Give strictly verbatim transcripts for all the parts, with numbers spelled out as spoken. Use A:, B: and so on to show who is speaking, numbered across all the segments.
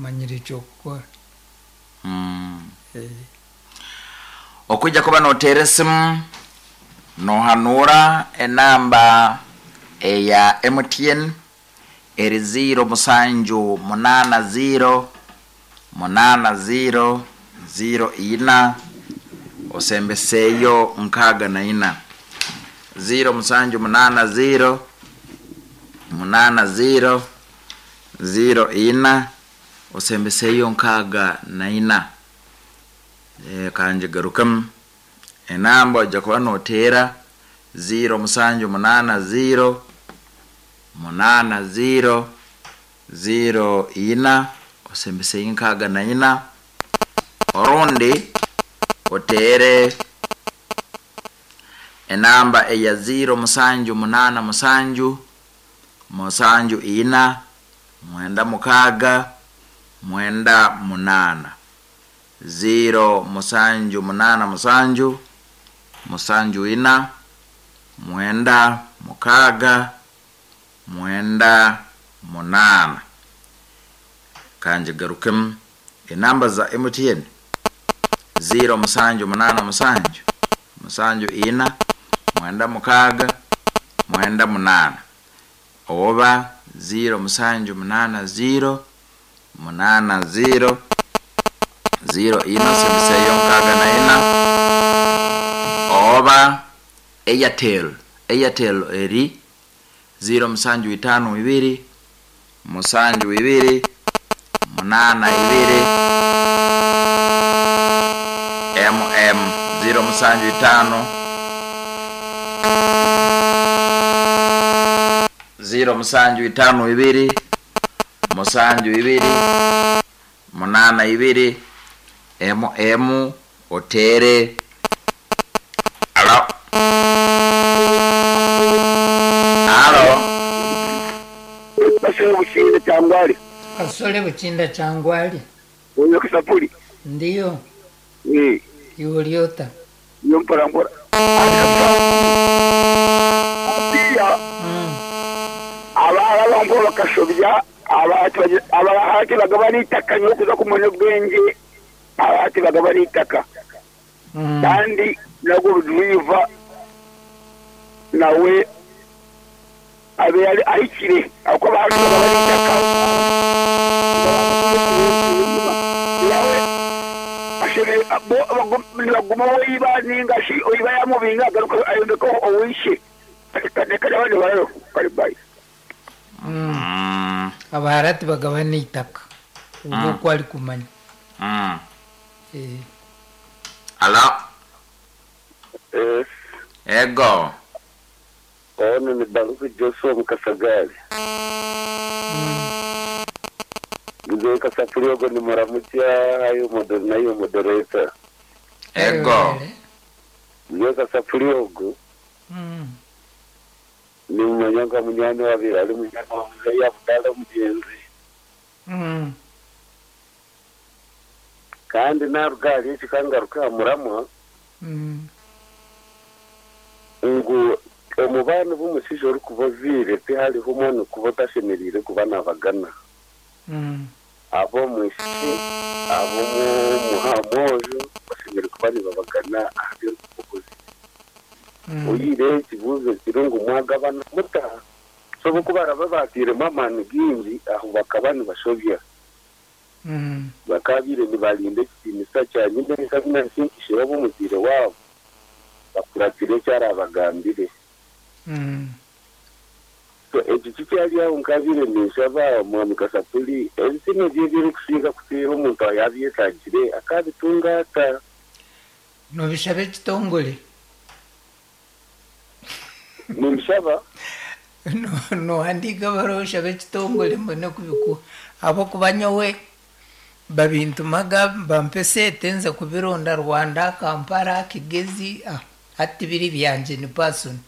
A: Omanyire eky'okukora.
B: Mm.
A: Eh,
B: Okujja kuba noteera esimu nohanura enamba eya M T N eri ziro musanju munana ziro munana ziro ziro ina osembeseeyo nkaaga na ina, ziro musanju munana ziro munana ziro ziro ina osembeseeyo nkaaga na ina. E, kanjigarukemu enamba ojja kuba noteera ziro musanju munana ziro munana ziro ziro ina osembeseyo nkaaga na ina, orundi oteere enamba eya ziro musanju munana musanju musanju ina mwenda mukaaga mwenda munana, ziro musanju munana musanju musanju ina mwenda mukaaga mwenda munana. Kanjigarukemu enamba za M T N: ziro musanju munana musanju musanju ina mwenda mukaaga mwenda munana, oba ziro musanju munana ziro munana ziro ziro ina osembeseyo nkaaga na ina, oba Airtel. Airtel eri ziro musanju itano ibiri musanju ibiri munana ibiri mm ziro musanju itano ziro musanju itano ibiri musanju ibiri munana ibiri mm otere. Alo, alo.
C: Basole Bukinda Kyangwali.
A: Kasole Bukinda Kyangwali.
C: Oyo Kasapuli.
A: Ndiyo.
C: Eh.
A: Iwe oliota?
C: Iyo mpora mpora. Atiya.
A: Mm.
C: Abaara bampo bakashobya abahati bagabana itaka nyokuza kumanya obwenge, abahati bagabana itaka.
A: Mm.
C: Kandi nagwo rudriva nawe abe yari ahikire ako bahati bagabana itaka nawe ashebe bo nibaguma oiba ninga shi oiba yamubinga agaruka ayombeka owishe reka abandi barayo kari bayi.
A: Mm.
B: Mm,
A: abaharati bagabana itaka ubwo uko ari kumanya.
B: mm.
A: Eh,
B: Alo.
D: Eh,
B: ego.
D: Ono ni Baruku Joshua Mukasagari.
A: mm.
D: Mzee Kasapuri ogo ni muramutya ayo moder nayo moderator.
B: Ego.
A: Wele.
D: Mzee Kasapuri ogo
A: Mm.
D: ni mumanyanga munyani wabiri ali munyani wa mzee ya Abdalla mugenzi.
A: Mm.
D: Kandi narugali ekikangaruka muramwa
A: Mm.
D: ngu omubano b'omushaija orikuba oziire tihariho omwana okuba otashemereire kuba nabagana
A: Mm.
D: ab'omwishiki ab'omwojo bashemereire kuba nibabagana aha by'okukozi.
A: Mm.
D: Oyire ekibuuzo kiri ngu mwagabana muta? So boku baraba batiiremu amaani gingi aho bakaba nibashobya.
A: Mm.
D: Bakabiire nibarinda ekitiinisa kya nyina nkabimansinkishe omuziire waabo bakuratire ekyarabagambire.
A: Mm.
D: So ekyo kikyari aho nkabiire ninshaba mwami Kasapuli ebisime bye ebirikusinga kuteera omuntu yabyetagire akabitunga ata?
A: Nobishaba ekitongole.
D: Nimbishaba.
A: No- nohandiika baruwa oshabe ekitongole mbone kubikuha ahabwokuba nyowe babintumaga bampa esente nza kubironda Rwanda, Kampala, Kigezi. Ah, hati biri byangye ni person.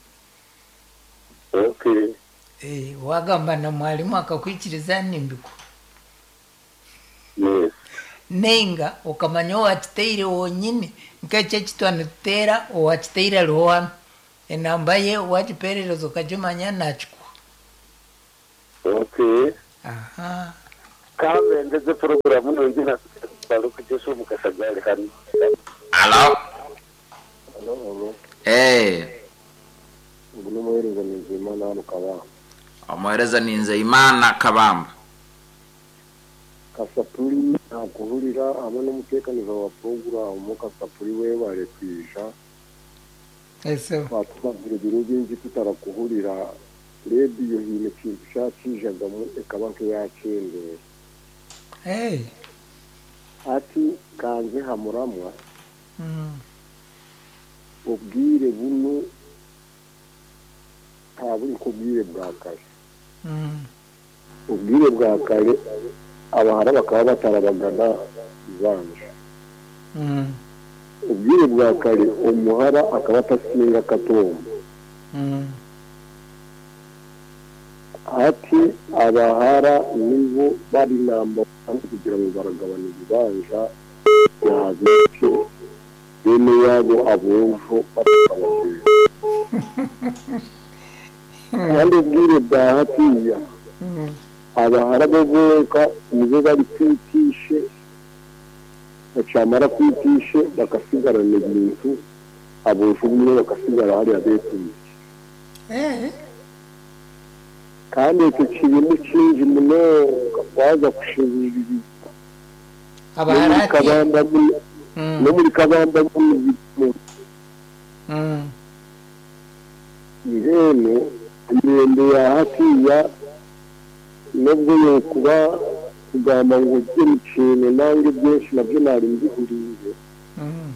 D: Okay.
A: Eh, wagamba na mwalimu akakwikiriza nimbikuha.
D: Yes.
A: Nenga okamanya owakiteire wonyini nk'ekyo ekitwa nituteera owakiteire ariho hanu enamba ye wagiperereza okagimanya nakikuha.
D: Okay.
A: Aha.
D: Kambe porogaramu nungi nakujesha omukasagari hanu.
B: Alo.
E: Halo, halo.
B: Eh,
E: Ubu n'umuhereza Nizeyimana hano Kabamba.
B: Omuhereza ni Nzeyimana Kabamba.
E: Kasapuri nakuhurira hamwe n'umutekanizo wa porogaramu. Kasapuri webare kwija.
A: Ese.
E: Twatubabwira ibiro bingi tutarakuhurira. Rediyo hiine ekintu kyakijagamu ekaba nk'eyakendera.
A: Hey.
E: Ati kanze hamuramwa.
A: Mm.
E: Obwire buno ntaburi kubwire bwa kare.
A: Mm.
E: Ubwire bwa kare abahara bakaba batarabagana ibanje.
A: Mm.
E: Ubwire bwa kare omuhara akaba atasinga katombo.
A: Mm.
E: Ati abahara nibo bari namba kugira ngo baragabana ibibanja byabitse bene yabo abumvu batababwira. Kandi ubwire bwa hatiya
A: Mm.
E: abahara bo bonka nibo bari kwitishe, bacamara kwitishe bakasigarana ibintu, abumvu bumwe bakasigara hariya betuye.
A: Eh.
E: Kandi ekyo kirimu kingi munonga waza kushibirira.
A: Abahara
E: Kabamba muno-
A: Mm.
E: no muri Kabamba muno.
A: Mm.
E: Irene imirembe ya hatiya nubwo yokuba kugamba ngo ujye mu kintu nange byinshi nabyo nari mbihuriye.
A: Mm.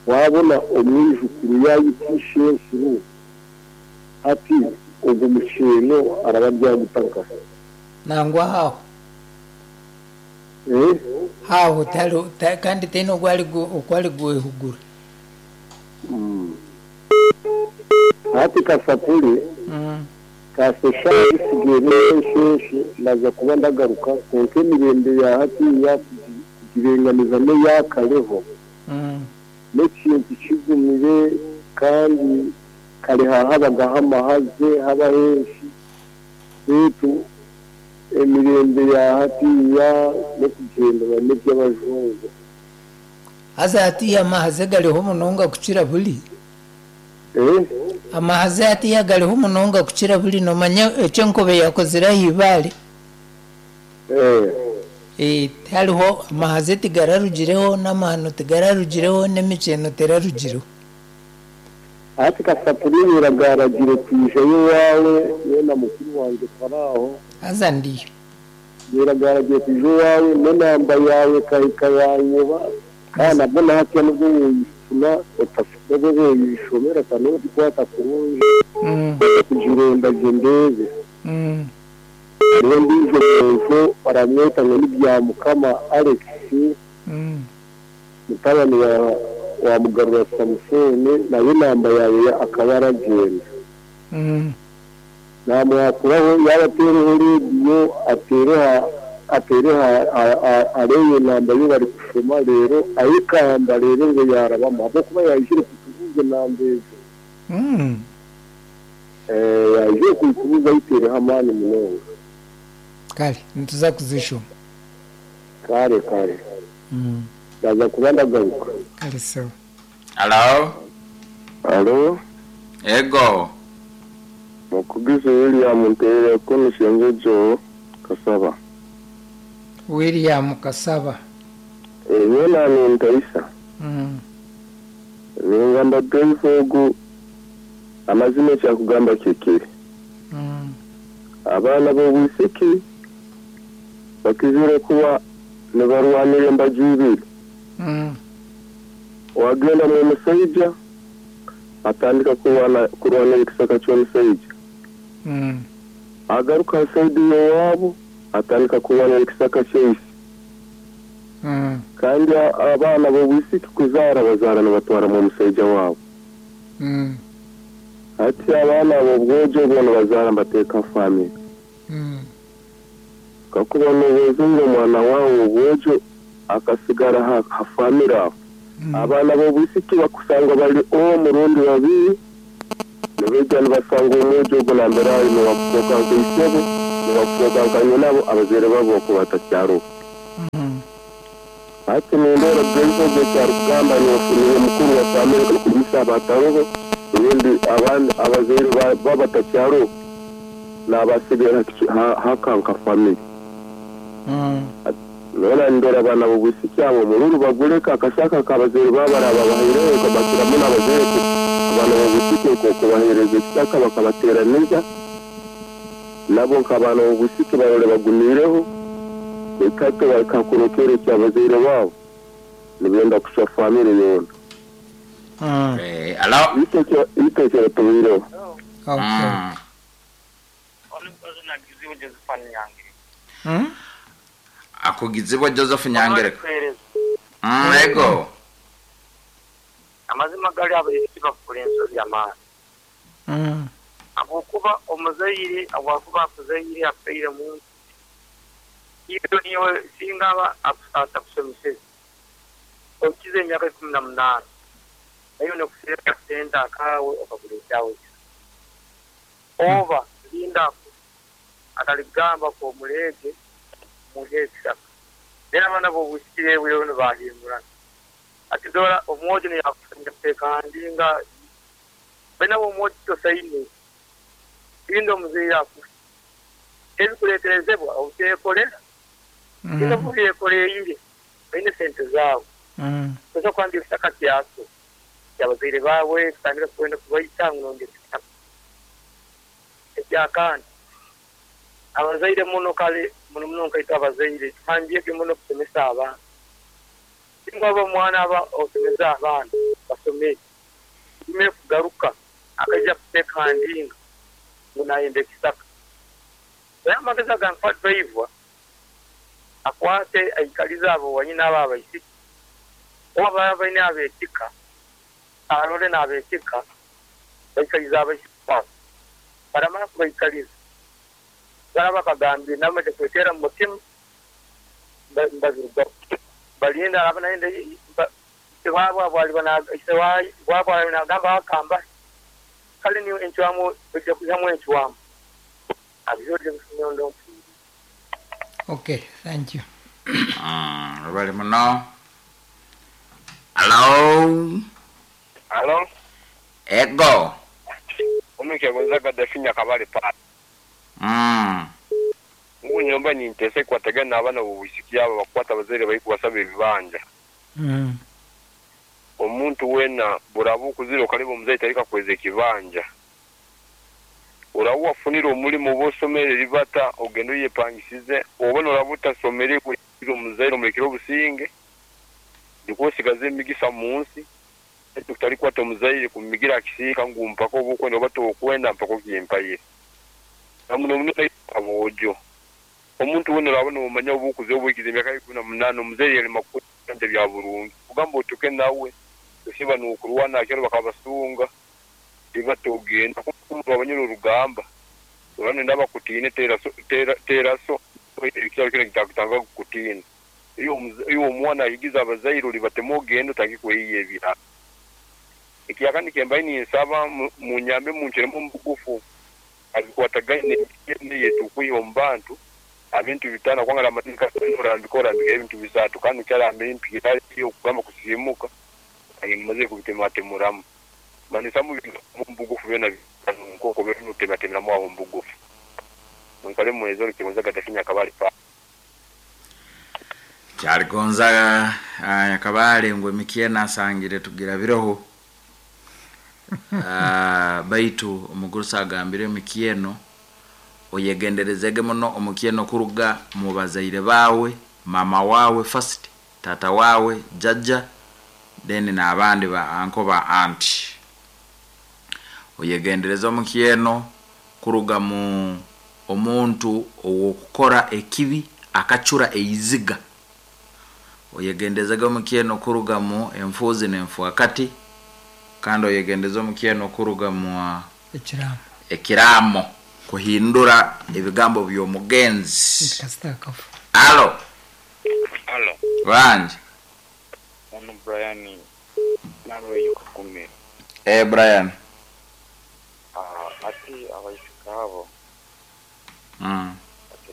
E: Wabona umwijukuru yayitishe nkuru ati ubwo mukino araba byagutaka.
A: Nangwa haho.
E: Eh?
A: Haho tali ta, kandi teno gwali gwali gwehugura.
E: Mm. Ati Kasapuri.
A: Mm.
E: Kasesha isigaye n'ensheshe naza kuba ndagaruka konka emirembe ya hatiya kugirenganiza n'eyakareho.
A: Mm.
E: N'ekintu kigumire kandi kare hahabagaho amahaze haba henshi beitu emirembe ya hatiya n'okugendera n'eby'abajungu.
A: Haza hatiya amahaze gariho munonga kukira buri.
E: Eh?
A: Amahaze hatiya gariho munonga kukira buri nomanya ekyo enkobe yakozire ah'ibare.
E: Eh.
A: Eh, hariho amahaze tigararugireho n'amahano tigararugireho n'emikyeno terarugireho.
E: Ati Kasapuri biragaragire kwija iwawe yena mukuru wanjye Faraho.
A: Haza ndiyo.
E: Biragaragire kwija iwawe n'enamba yawe kahika yanyoba kandi nabwo nahatiya nubwo woyifuna nubwo woyishomera kandi nogikwata kurungi.
A: Mm.
E: Kugironda gye ndebe.
A: Mm.
E: Niwe ndijo muntu baramweta ngo ni Byamukama Alex.
A: Mm.
E: Mutabani wa wa Mugarura Samusoni nawe namba yawe akaba aragenda.
A: Mm.
E: Namwakuraho yaba atereho rediyo atereha atereha areye namba yo bari kushoma rero ayikamba rero ngo yarabamo abo kuba yayishire kutubuze namba ejo.
A: Mm.
E: Eh, yaje kutubuza ayitereho amani munonga.
A: Kare nituza kuzishoma.
E: Kare kare.
A: Mm.
E: Ndaza kuba ndagaruka.
A: Kare sawa.
B: Alo.
D: Alo.
B: Ego.
D: Mukugize William Nterera komishengejo Kasaba.
A: William Kasaba.
D: Eh, yena ni Ntaisa.
A: Mm.
D: Ningamba twifogu amazima kyakugamba kikiri.
A: Mm.
D: Abaana b'obwisiki bakizire kuba nibarwanira embaju ibiri.
A: Mm.
D: Wagenda mu musaija atandika kurwana kurwanira ekisaka ky'omusaija.
A: Mm.
D: Agaruka saidi y'owaabo atandika kurwanira ekisaka ky'eisi.
A: Mm.
D: Kandi abaana b'obwisiki kuzaara bazaara nibatwara mu musaija waabo.
A: Mm.
D: Ati abaana b'obwojo boona bazaara nibateeka family.
A: Mm.
D: Kakuba n'obuzinga omwana waawe obwojo akasigara ha, ha family aho.
A: Mm.
D: Abaana b'obwisiki bakusanga bari omurundi babiri nibaija nibasanga omwojo ogwo nambere ari niwakutoka nkaisebo Bakufoka nka nabo abazaire babo bakubatakyaro.
A: Mm.
D: Ati nendera bw'ensogo kyarugamba niwe mukuru wa family kumisa abataroho ibindi abandi abazaire babatakyaro nabasigara hakanka family.
A: Mm.
D: Nora ndora bana bubusiki abo mururu baguleka akashaka kabazaire babaraba bahireho kabakiramu n'abazaire abana bubusiki ko kubahereza ekitaka bakabateraniriza nabo nk'abana bubusiki barore bagumireho ekato bakakurokere kyabazaire babo nibenda kusha family yona.
A: Mm.
B: Eh, alo.
D: Itekero itekero tubireho.
A: Okay.
B: Mm.
A: Mm?
B: Akugizibwa Joseph Nyangereka. Mm, ego.
F: Amazima gali abayizi bakora ensobi y'amaani.
A: Mm.
F: Ahabwokuba omuzaire ahabwokuba akuzaire afiire muntu iyo niwe singa aba atakusomeseze okize emyaka ikumi na munaana nayo nokuseera sente akaawe okagura ekyawe oba linda akaligamba k'omuleege muhe ekisaka then abaana b'obwisiki bwewe nibahingurana ati dora omwojo niyakutekandinga bena omwojo tosaine linda omuzeire akufe ebikuleeterezebwa obuteekolera mm. Ino baine sente zaabo
A: mm.
F: Tosobola kwandika ekisaka kyaso kyabazaire baawe kutandika kwenda kubaita ngu nongera ekisaka ekyakandi abazaire muno kale muno muno nkaita abazaire tuhandiike muno kusomesa abaana singa oba omwana aba osomesa abaana basome ime kugaruka akaija kutekandinga ngu nayenda ekisaka naye amagezi agankuha driver akwate aikalize abo wanyina abo abaisiki oba baba baine abeekika arore n'abeekika baikalize abaisiki babo baramara kubaikaliza baraba bakagambire nabo kwetera mu mutima mbazirugaho balinda araba nayenda ise wabo abwali ise wabo ali nagamba akamba kale niyo encwamu ojja kuyihamu encwamu abyoje bifunyondo.
A: Okay, thank you.
B: Mm, bali muno. Hello.
G: Hello.
B: Ego.
G: Omike gonzaga dafinya kabale pa.
B: Mm.
G: Ngunyomba nintese kwatagana abana bubusiki abo bakwata abazaire bari kubasaba ebibanja.
A: Mm.
G: Omuntu wena burabu kuzira okaleba omuzaire tarika kweza ekibanja. Orabu wafunira omulimu bosomere ribata ogenda oyepangisize obona orabu utasomere kugira omuzaire omulekere obusinge ndikusigaza emigisa mu nsi tutari kwata omuzaire kumigira akisiika ngu mpaka obukwenda oba tokwenda mpaka okimpaire namuno muno abojo omuntu wena orabona omanya obukuze obukize emyaka ikumi na munaana omuzaire yarema kukwenda bya burungi kugamba otuke nawe osiba nukurwana akero bakabasunga tibatogenda kumva abanyura urugamba urane ndabakutine tera tera tera so ekyalo kino kitakutanga kukutina iyo iyo omwana ahigiza abazaire uri batemogenda utangikweyiye ebira ekiyakandi kembaye ninsaba munyambe muncheremo mbugufu abikwatagaine yetu omu bantu abintu bitana kwangala amateeka orambika orambika ebintu bisatu kandi kyarambe impira okugamba kusimuka ayimaze kubitematemuramu manisamu mbugufu bena nkoko beno tematemeramu aho mbugufu mwikale mwezo kigonza gadafinya kabali pa
B: Kyali Gonzaga Nyakabale ngwe mikiena asangire tugira biroho. Uh, baitu omugurusa agambire mikieno oyegenderezege muno omukieno kuruga mu bazaire bawe, mama wawe first, tata wawe, jajja, then n'abandi ba anko ba auntie. Oyegendereza omukieno kuruga mu omuntu owokukora ekibi akacura eiziga. Oyegendezega omukieno kuruga mu enfuzi n'enfuakati, kandi oyegendeza omukieno kuruga mu
A: ekiramo
B: ekiramo kuhindura ebigambo by'omugenzi.
A: Kasita akafu.
B: Alo.
H: Alo.
B: Wanje.
H: Ono Brian narwe yukukumira.
B: Eh Brian.
H: Ah ati abaishika abo.
B: Mm.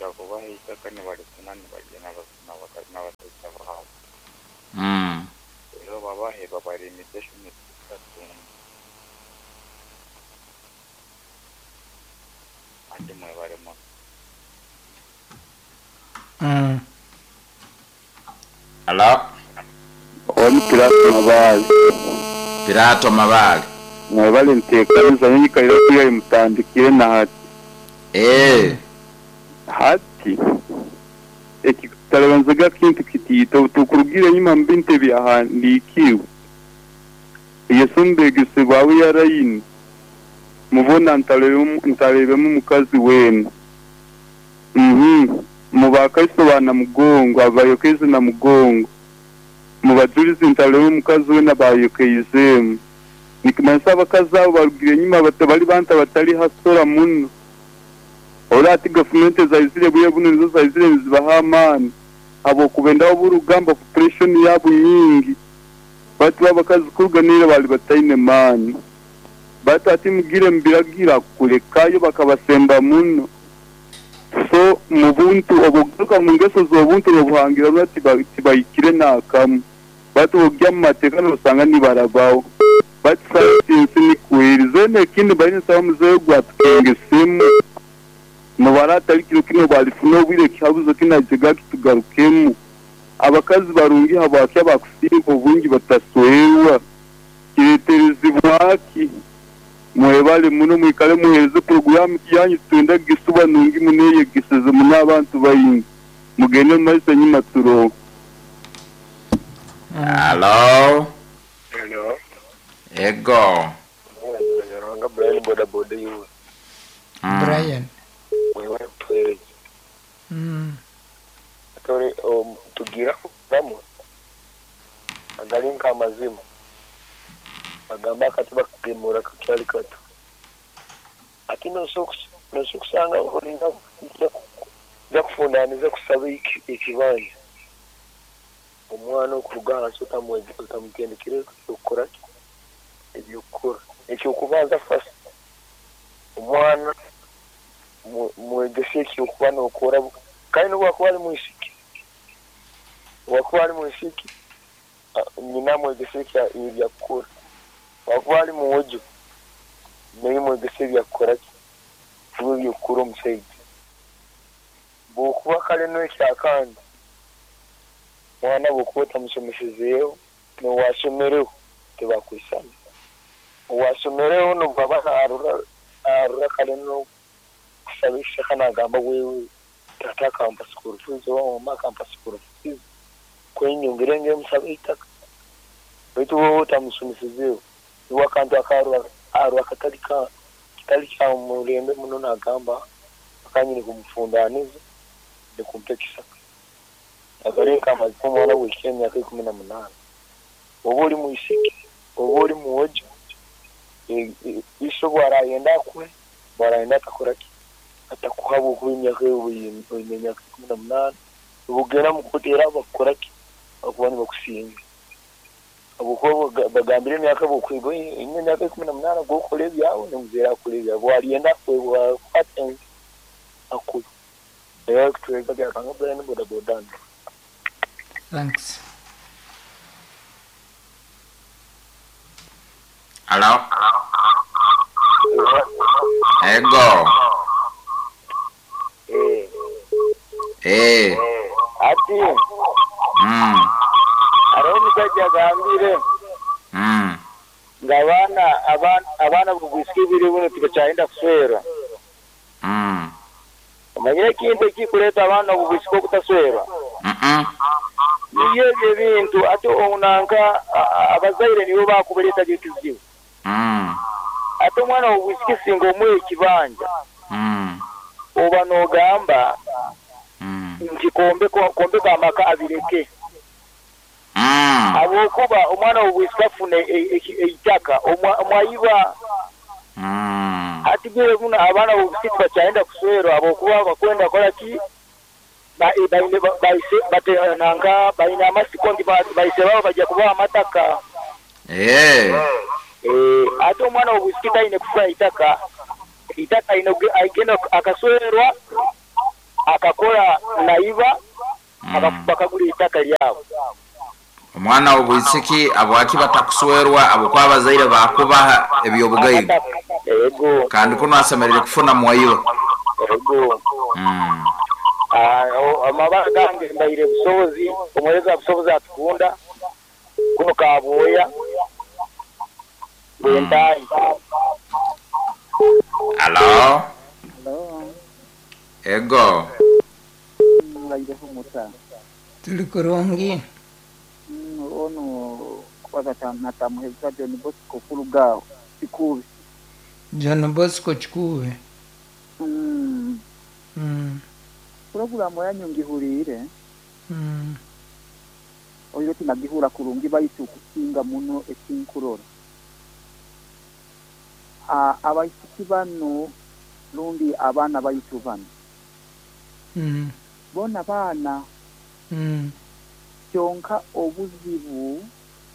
H: Bakira kubaha eitaka nibarifuna nibarya n'abashaija baabo.
B: Mm.
H: Rero babahe babaremesa eshumi andi mwebare muno.
A: Mm.
B: Hello.
D: Oni Pilato Mabale.
B: Pilato Mabale.
D: Mwebale nteekaniza nyikalira kuya mutandikire na hati.
B: Eh.
D: Hati ekitarabanzaga kintu kitiito tukurugire nyuma mbinte byahandikiwe. Yesu mbegese bawe yarayini. Mubona ntalebe ntalebemu mukazi wenu. Mhm. Mubakaiso bana mugongo abayokeze na mugongo. Mubajulizi ntalebe mukazi wena bayokeizemu. Nikimanisa abakazi abo barugire nyuma batabali banta batali hasora muno. Ora ati gavumenti zaizire buye buno nizo zaizire nizibaha amaani. Abo kubendaho burugamba population yabo nyingi. Batu abakazi kuruganira bali bataine maani. Batu ati mugire mbiragira kulekayo bakabasemba muno. So mubuntu obugaruka mu ngeso z'obuntu obuhangira bati tibayikire nakamu. Batu ogya mu mateeka nosanga nibarabaho. Batu sayansi nikwirize n'ekindi bari nsaba muzeeyi gwatukengesemu. Nobara atari kiro kino balifuna obwire kihabuzo kinajega kitugarukemu. Abakazi barungi habwaki abakusinga obungi bataswerwa. Kireterezibwaki. Mwebale muno mwikale muhereze porogaramu yanyu twenda gisuba nungi muneyegeseze muno abantu bayingi. Mugende mu maiso nyuma turoho.
B: Hello.
F: Hello.
B: Ego.
F: Rwanga Brian boda boda yuwe.
B: Mm.
A: Brian.
F: Wewe pere.
A: Mm.
F: Atore um, tugira ramu. Agalinka amazima. Agamba akati bakugemura kakyali kato. Ati nosokusanga olinga nja kufundaniza kusaba ekibanja. Omwana okuruga ahansi otamutendekere okukora ebyokukora. Ekyokubanza first omwana mwegese ekyokuba nokora kandi nobwakuba ari mwisiki. Bwakuba ari mwisiki nyina mwegese ebyakukora. Wakuba ari muwojo naye mwegese ebyakukora ki ebyokukora omushaija. Bwokuba kare n'ekyakandi mwana bwokuba otamushomesezeeho n'owashomereho tebakwisana. Owashomereho nobwaba arura arura kare n'okusaba ekishaka nagamba wewe tata akampa school fees oba mama akampa school fees kwenyongere nge musaba eitaka. Baitu wowe otamusomesizeeho niwe akantu akarura arura katari ka kitari kya murembe muno nagamba akanyine kumufundaniza ndikumpa ekisaka. Agarenka amazima omwana w'ekya emyaka ikumi na munaana. Oba ori mwisiki oba ori muwojo iso bwarayenda akuhe bwarayenda atakora ki atakuha bwokuba emyaka oine emyaka ikumi na munaana obugenda mukotera bakukora ki bakuba nibakusinga. Abukuba bagambire emyaka bwokwigwa oine emyaka ikumi na munaana gwokora ebyawe nomuzeera akora ebyawe bwariyenda akuhe bwakwata akuhe. Rero kutwega byakanga Brian boda boda.
A: Thanks.
B: Hello. Ego.
F: Eh.
B: Eh.
F: Ati.
B: Mm.
F: Hariho omushaija agambire.
B: Mm.
F: Ng'abaana abaana abaana bugwisika ebiri buno tibakyayenda kuswera.
B: Mm.
F: Omanyire ekintu ekikureeta abaana obugwisika obutaswerwa?
B: Mm.
F: Niyo ebyo ebintu ate onanka abazaire nibo bakubireeta ekizibu.
B: Mm.
F: Ate omwana w'obwisiki singa omuha ekibanja.
B: Mm.
F: Oba n'ogamba
B: Mm.
F: nti kombeka amaka abireke.
B: Mm.
F: Ahabwokuba omwana w'obwisiki afuna eitaka omwayiba.
B: Mm.
F: Ati bwire buno abaana b'obwisiki tibakyayenda kuswerwa ahabwokuba bakwenda kukora ki baise batenanga baine amasiko nti baise babo bajja kubaha amataka.
B: Eh.
F: Eh, ate omwana w'obwisiki taine kufa eitaka. Eitaka aine agenda akaswerwa Akakora naiba
B: Mm.
F: bakagura itaka lyabo.
B: Omwana w'obwisiki abwaki batakuswerwa abokwa abazaire bakubaha ebyobugaiga.
F: Ego.
B: Kandi kuno asemerere kufuna mwayiba.
F: Ego.
B: Mm.
F: Ah, o- amabara gange mbaire busobozi omwereza busobozi atukunda kuno kabwoya bwentayi.
B: Alo.
H: Hello.
B: Ego.
H: Muraireho muta.
A: Tuli kurungi.
H: Mm, ono kwaza natamuheza John Bosco kuruga Kikubi.
A: John Bosco Kikubi.
H: Mm.
A: Mm.
H: Puroguramu yanyu ngihuriire.
A: Mm.
H: Oyo tinagihura kurungi baitu kusinga muno ekinkurora. A abaisiki bano rundi abaana baitu bano.
A: Mm.
H: Bona baana.
A: Mm.
H: Kyonka obuzibu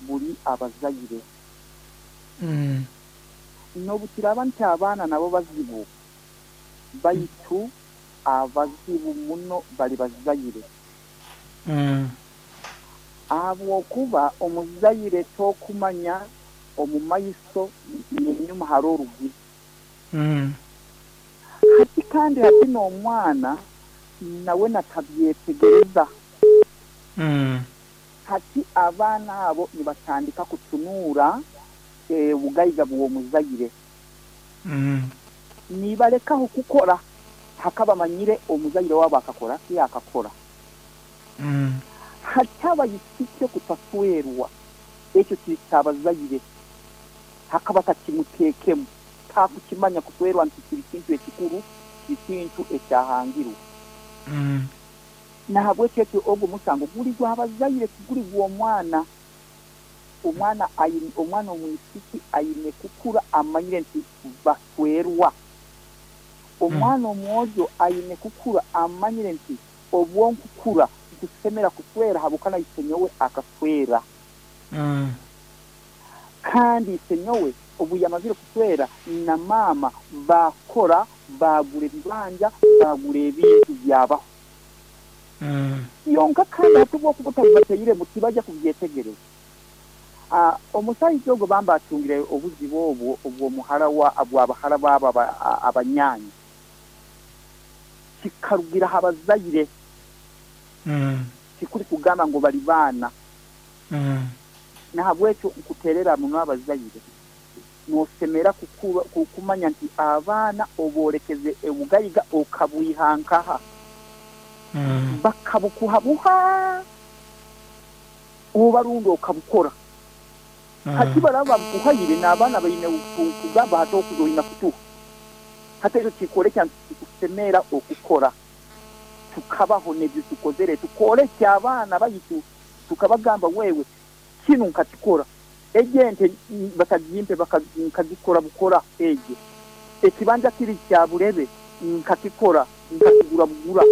H: buli abazaire.
A: Mm.
H: N'obukiraba nti abaana nabo bazibu baitu abazibu muno bali bazaire.
A: Mm.
H: Ahabwokuba omuzaire tokumanya omu maiso n'enyuma hari orugi.
A: Mm.
H: Hati kandi hati n'omwana nawe natabyetegereza.
A: Mm.
H: Hati abaana abo nibatandika kutunuura obugaiga bw'omuzaire.
A: Mm.
H: Nibalekaho kukora hakabamanyire omuzaire wabo akakora ki akakora.
A: Mm.
H: Hati abayisiki kutaswerwa ekyo kiri kyabazaire hakaba takimuteekemu takukimanya kuswerwa nti kiri kintu ekikuru kiri kintu ekyahangirwe.
A: Mm.
H: Nahabwekyo ekyo ogwo musango guli gw'abazaire tiguli gw'omwana. Omwana aine omwana omwisiki aine kukura amanyire nti baswerwa. Omwana omwojo aine kukura amanyire nti obwonkukura nkusemera kuswera habukana isenyowe akaswera.
A: Mm.
H: Kandi isenyowe obu yamazire kuswera na mama bakora bagura ebibanja bagura ebintu byabaho.
A: Mm.
H: Yonka kandi hatubwo kubutabateire mutibajya kubyetegereza. Ah, omusajja ogwo bamba atungire obuzibu obwo obwo muhara wa abwabahara baba abanyanya kikarugira abazaire.
A: Mm.
H: Kikuri kugamba ngo bali baana.
A: Mm.
H: Nahabwekyo nkuterera muno abazaire nosemera kukura kumanya nti abaana oborekeze ebugayiga okabwihankaha.
A: Mm.
H: Bakabukuhabuha obarundo okabukora.
A: Mm.
H: Hati baraba bukuhayire n'abaana baine kugamba hati okuzoina kutuha. Hati ekyo kikolekya nti kusemera okukora tukabaho n'ebyo tukozere tukolekya abaana baitu tukabagamba wewe kinu nkakikora ejente batagimpe bakagikora bukora eje ekibanja kiri kya burebe nkakikora nkakigura bugura.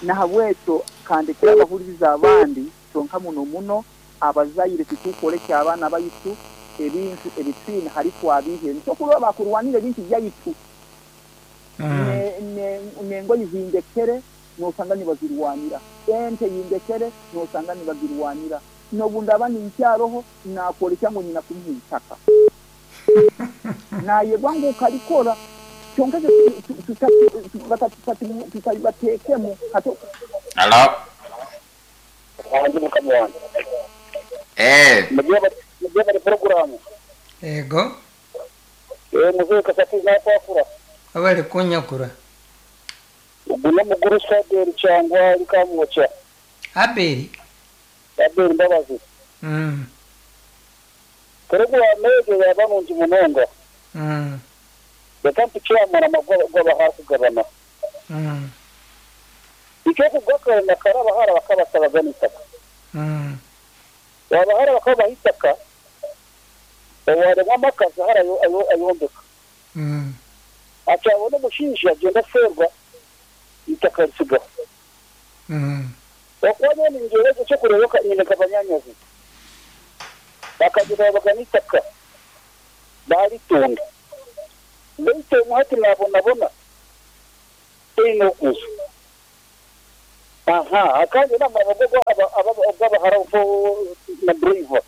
H: Nahabwekyo kandi kirabahuriza abandi kyonka muno muno abazaire titukolekya abaana baitu ebintu ebitwine hari twabihe nsokuba bakurwanira ebintu byaitu.
A: Mm.
H: Ne nengo yizindekere nosanga nibazirwanira ente yindekere nosanga nibazirwanira nobunda abandi nkyaroho nakolekya ngo nyina kumuha itaka naye bwangu ukalikora kyonka tutabatekemu hato.
B: Alo. Eh.
F: Mujye programu.
A: Ego.
F: Eh muze kasati nakwafura.
A: Abali kunyakura.
F: Uguno muguru saderi cyangwa likamwocha.
A: Abeli.
F: Abeli mbabazi.
A: Mm.
F: Programu ejo yabanungi munonga.
A: Mm.
F: Yakampi kyamara magwa kugabana.
A: Mm.
F: Icyo kugakara nakaraba hara bakabasaba itaka.
A: Mm.
F: Wabahara bakaba itaka. Owarema makazi hara ayo ayombeka.
A: Mm.
F: Acyabona umushinji agenda ferwa itaka risiga.
A: Mm.
F: Wakwanya ni ngerezo cyo kureyoka nyine kabanyanyazi. Bakagira baganitaka. Bari tunda. Bite muhati nabona bona.
C: Toine okuza. Aha, akandi n'amagogo ag'abahara na driver.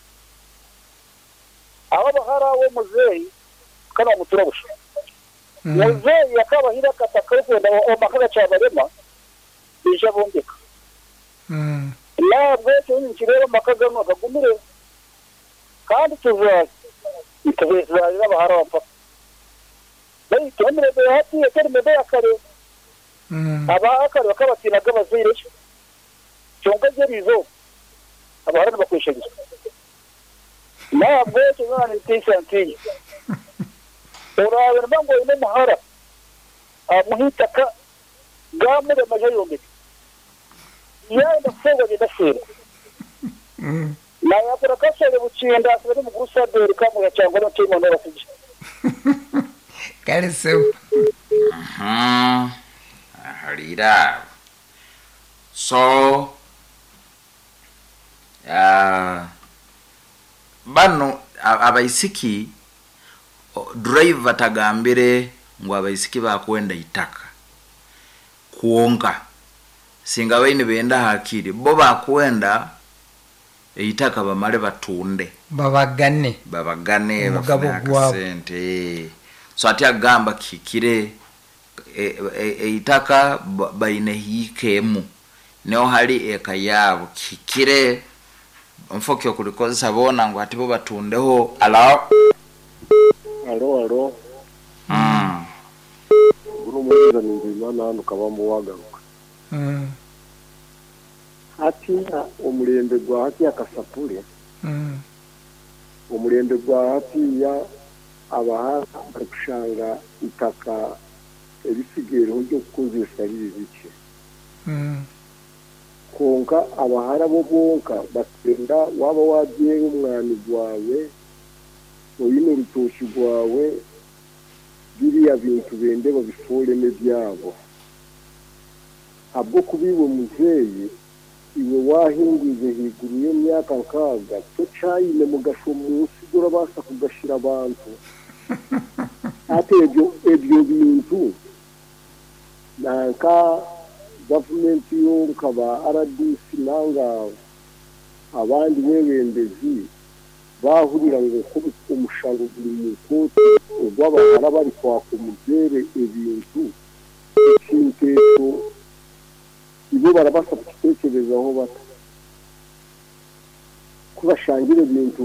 C: Abahara w'omuzeeyi kana bamutura busha. Muzeeyi akabahira akataka kwenda omaka gacabarema bija bombeka. Nabwo ekyo nikireba amaka gamwe gagumire kandi tuzaali tuzaalira abahara mpaka. Baitu emirembe ya hati etari mirembe ya kare. Abakare bakabatinaga abazaire kyonka gyerizo abahara nibakweshagisa. Nabwo ekyo nana nitiisa ntinya. Orabe niba ngu oine omuhara amuha itaka gamurema aje ayombeke. Yayenda kuferwa agenda aferwa. Nayakora kasere bukinda asibere mukuru Saderi kamuya cyangwa no timo no basije.
A: Kale sebo.
B: Mhm. Ahalira. So uh, bano abaisiki driver tagambire ngu abaisiki bakwenda itaka kuonka singa baine benda hakiri bo bakwenda eitaka bamale batunde
A: babagane
B: babagane
A: Omugabo
B: bafune
A: gwabo.
B: akasente. So ati agamba kikire eitaka e, e, baine hiikemu neo hali eka yabo kikire mfokyo kulikozesa bona ngu ati bo batundeho. Alo
E: alo alo
B: mm
E: guru muza ningimana hano kabambo wagaruka
A: mm
E: hati omulembe gwa hati akasapule
A: mm
E: omulembe gwa hati ya abahara barikushanga itaka ebisigereho ryo kukozesa riri bike
A: mm
E: konka abahara bo bonka batenda waba wabyera umwani gwawe oyine urutoki rwawe biriya bintu bende babiforeme byabo habwo kubiwe muzeyi iwe wahingwize higuru y'emyaka nkaga tocayine mugasho munsi gurabasa kugashira abantu ate ebyo ebyo bintu nanka gavumenti yonka ba R D C nanga abandi bebembezi bahurira ngo umushango guri mu koti ogw'abahara bari kwaka umuzere ebintu ekintu ibo barabasa kukitekerezaho bata kubashangira ebintu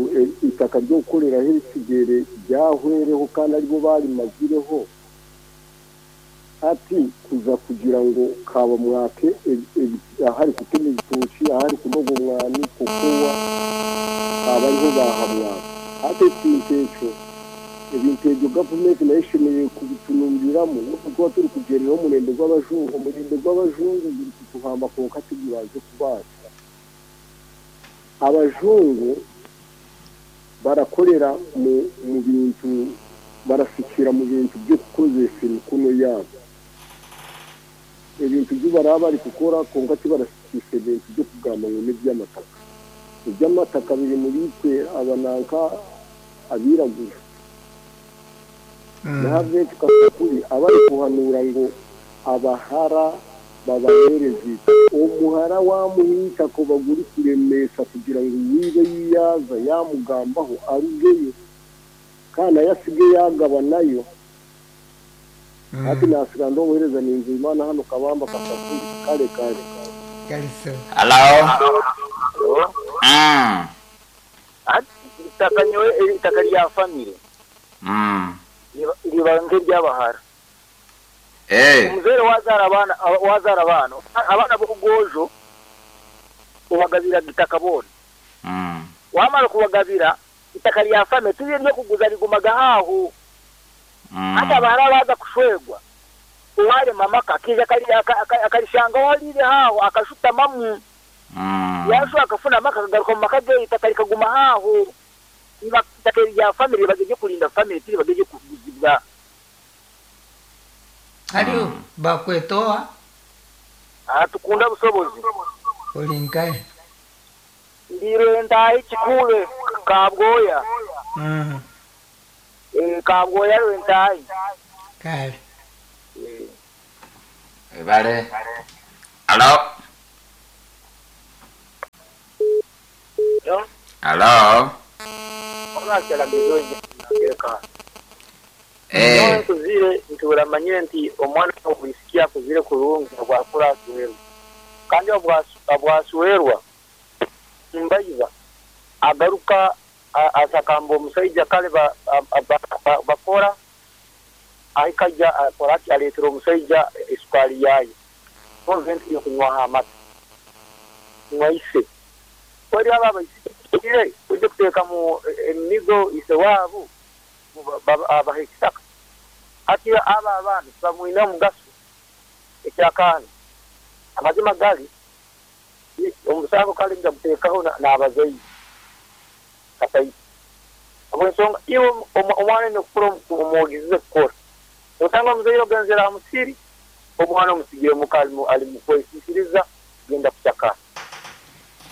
E: itaka ryo gukoreraho ebisigere byahwereho kandi aribo barimazireho ati kuza kugira ngo kaba mwake ahari kutema ibitoki ahari kunoga umwani kukowa abariho bahamwaka ate ekintu ekyo ebintu ebyo gavumenti nayo ishemereire kubitunumbiramu n'okuba turi kugereraho omurembe gw'abajungu omurembe gw'abajungu guri kutuhamba konka tigubaze kubaasa abajungu barakorera mu mu bintu barasikira mu bintu byo kukozesa emikono yabo ebintu byo baraba bari kukora konka tibarasikisa ebintu byo kugamba ngu n'eby'amataka eby'amataka biri muri twe abananka abiragura nahabwe tukakuri abari kuhanura ngo abahara babahereze omuhara wamuhita ko baguri kuremesa kugira ngo wibe yiyaza yamugambaho arugeyo kana yasige yagabanayo ati nasiga ndohereza ninzu Imana hano kabamba kasakuri kale kale
A: kale.
B: Hello mm
F: ati itaka nyowe itaka rya family
B: mm
F: ribanze ry'abahara
B: eh
F: umuzere wazara abana wazara abana abana b'ugojo ubagabira itaka bona
B: mm
F: wamara kubagabira itaka rya family turi ryo kuguza rigumaga haho
B: mm
F: hata bahara baza kushwegwa uwale mamaka akija akarishanga walire haho akashutamamu
B: mm
F: yasho akafuna maka akagaruka mu maka ge itaka rikaguma haho iba itaka rya family bageje kurinda family tiri bageje kuguzibwa
A: hariyo bakwetoa
F: ah tukunda busobozi
A: olinkaye
F: ndirenda ikikube kabgoya
A: mm
F: eh kabgoya rwentayi
A: kale
F: eh
B: Ebale. Alo. Alo. Eh.
F: Nkuzire nturamanyire nti omwana obwisikia kuzire kurungi obwakura aswerwa. Kandi obwaswerwa mbayiba agaruka asakamba omusajja kale bakora ahikaja akoraki aletera omusajja esukali yayo. Konventi yokunywa amata. Mwaise. Kweri aba abaisire kujja kuteeka mu emigo ise waabo abahekisaka. Ati aba abaana bamwine omugaso ekyakaana. Amazima gali omusango kale nja kuteekaho n'abazaire. Katai. Obwensonga iwe omwana nokukura omwogize kukora. Osanga omuzaire ogenzera aha musiri omwana omusigire muka ali mukwesisiriza genda kuchakara.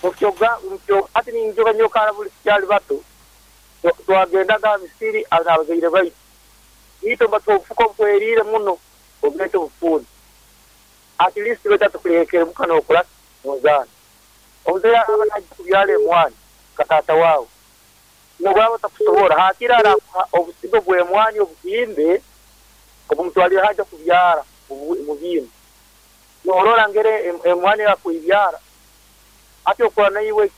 F: Mukyoga mukyo ati ninjoga nyokara buli kyali bato twagendaga misiri abazaire baitu. Ito batofuko bwerire muno obwete bufuni. At least betatu kulekere mukana okula muzana. Omuzaire abana kubyale mwana katata wawe. Nobwaba takusobora hakira arakuha obusigo bwe mwani obuhimbe obumutwalira haja kubyara mubimbe. Norora ngere emwani yakuibyara. Ati okora naiwe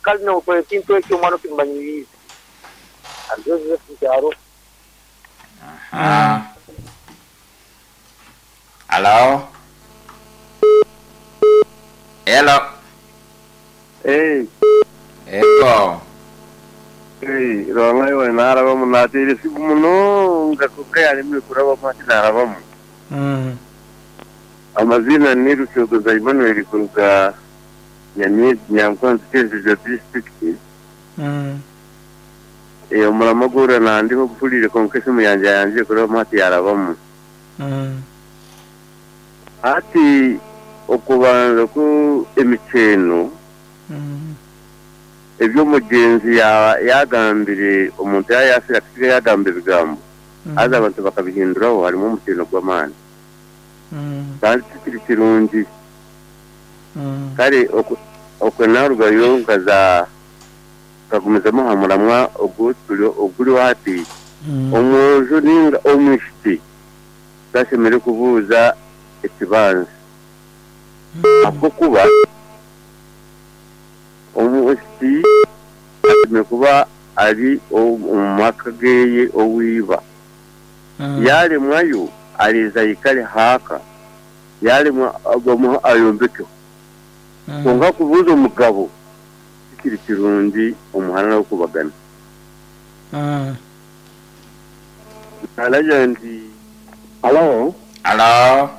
F: kali no okora kintu ekyo omwana okimanyirize. Azoze kukyaro.
B: Aha. Hello. Hello.
D: Hey.
B: Ego.
D: Hey, Rwanga narabamu natire siku muno ngakuka ari muri kuraba mati narabamu.
A: Mm.
D: Amazina ni Rushogoza Emmanuel kuruga Nyamizi Nyankwanzi Kyenjojo district.
A: Mm.
D: Eh omuramagura nandiho kupulire konka esimu yanje yanje kuraba mati yarabamu.
A: Mm.
D: Ati okubanza ku emicheno.
A: Mm.
D: Ebyo mugenzi ya yagambire omuntu yayasira kusiga yagamba ebigambo
A: mm.
D: Aza abantu bakabihinduraho harimo omukino gw'amaani
A: mm.
D: Kandi tikiri kirungi
A: mm.
D: Kale okwe narugayo nkaza kagumizamu aha muramwa oguri hati
A: mm.
D: Omwojo ninga omwishiki tashemere kubuuza ekibanza
A: mm.
D: Ahabw'okuba omuwesti kuba ari omumaka geye owiba
A: mm.
D: Yalemwayo aliza yikale haka yalemwa abamuha ayombeke
A: mm.
D: Konka kubuuza omugabo kikiri kirungi omuhana w'okubagana
A: mm.
D: Alaja nti
E: Alo.
B: Alo.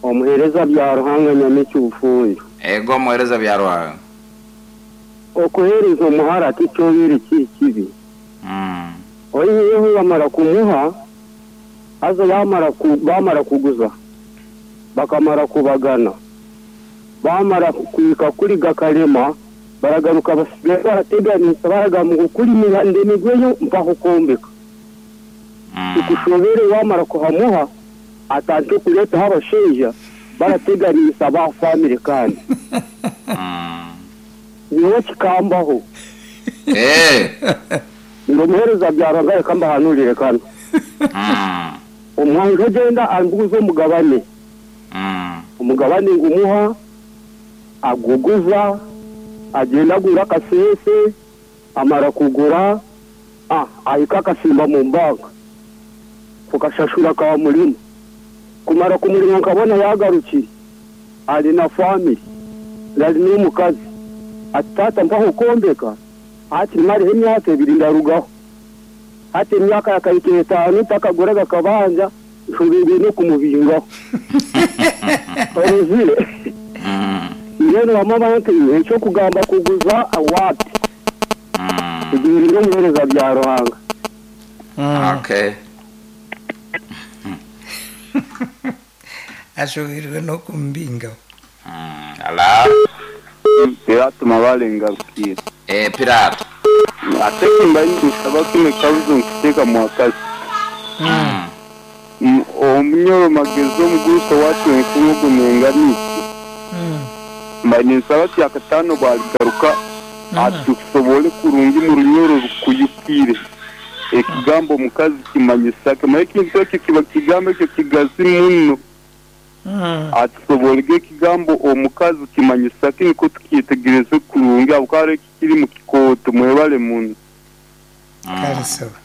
E: Omuhereza bya Ruhanga Nyamiki bufunjo.
B: Ego omuhereza bya Ruhanga.
E: Okuhereza omuhara tikyobere kibi.
B: Mm.
E: Oyiyeho bamara kumuha aza bamara ku bamara kuguza bakamara kubagana bamara kuika kuri gakarema baragaruka basigaye barateganisa baragamuka kuri mihande migweyo mpaka kukombeka.
B: Mm.
E: Ikushobere bamara kuhamuha atantu kuleta habasheja barateganisa ba family kandi.
B: Mm.
E: Niwe kikambaho.
B: Eh.
E: Ngomuhereza byaranga kamba hanulire kano.
B: Mm.
E: Omwanjo genda ambuzo omugabane.
B: Mm.
E: Omugabane ngumuha aguguza agenda agura kasese amara kugura ah ahika kasimba mu mbaga kukashashura ka mulimo kumara kumulimo nkabona yagaruki ali na family lali n'omukazi atata mpaho kombeka ati mari emyaka ebiri ndarugaho ati emyaka yakayika etaano takaguraga kabanja nshobere no kumubingaho oruzire ngeno bamama nti ekyo kugamba kuguza awati ibiri n'omuhereza bya Ruhanga.
B: Okay.
A: Ashoberwe no kumbingaho.
B: Ala.
D: Pirato mabalenga rukira.
B: Eh Pirato.
D: Ate kimba nisaba kime kabuzo nkiteka mwakazi.
B: Mm.
D: Omunyoro magezi omugurusi owacu enkungu nengamiki. Mbaire ninsaba kyakataano bwaligaruka atusobole kurungi mu runyoro rukuyukire. Ekigambo omukazi kimanyisa ki? Ekintu ekyo kiba kigambo ekyo kigazi muno. Atusobolege ekigambo omukazi kimanyisa ki niko tukyetegereze kurungi ahabw'okuba kiri mu kikooto. Mwebale muno.
A: Kale sebo.